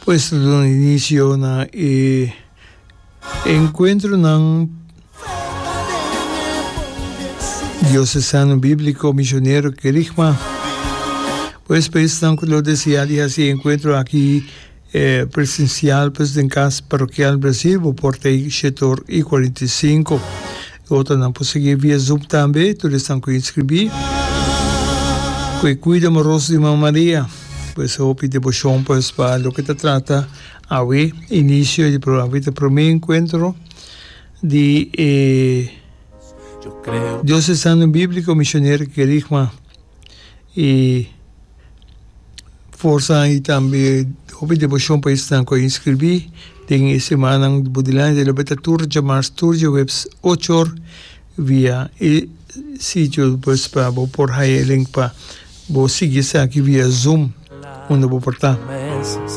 Pues ta duna inicio na e encuentronan Diocesano Biblico Misionero Kerigma. Pues pa esnan cu lo desea di haci e encuentro aki presencial pues den Cas Parokial Brasil bo por ta ei shete or y 45. E otronan por sigui via Zoom tambe, tur esnan cu inscribi. Cu e cuido amoroso di Mama Maria. Pues hopi deboshon pues pa loke ta trata awe inicio di programa awe ta prome encuentro di e Diocesano Biblico Misionero Kerigma y forsa y tambe hopi deboshon pa esnan cu a inscribi den e simannan bo dilanti lo beta tur djamars tur djaweps ocho or via e sitio pues pa bo por haya e link pa bo sigui esaki via Zoom unda bo por ta.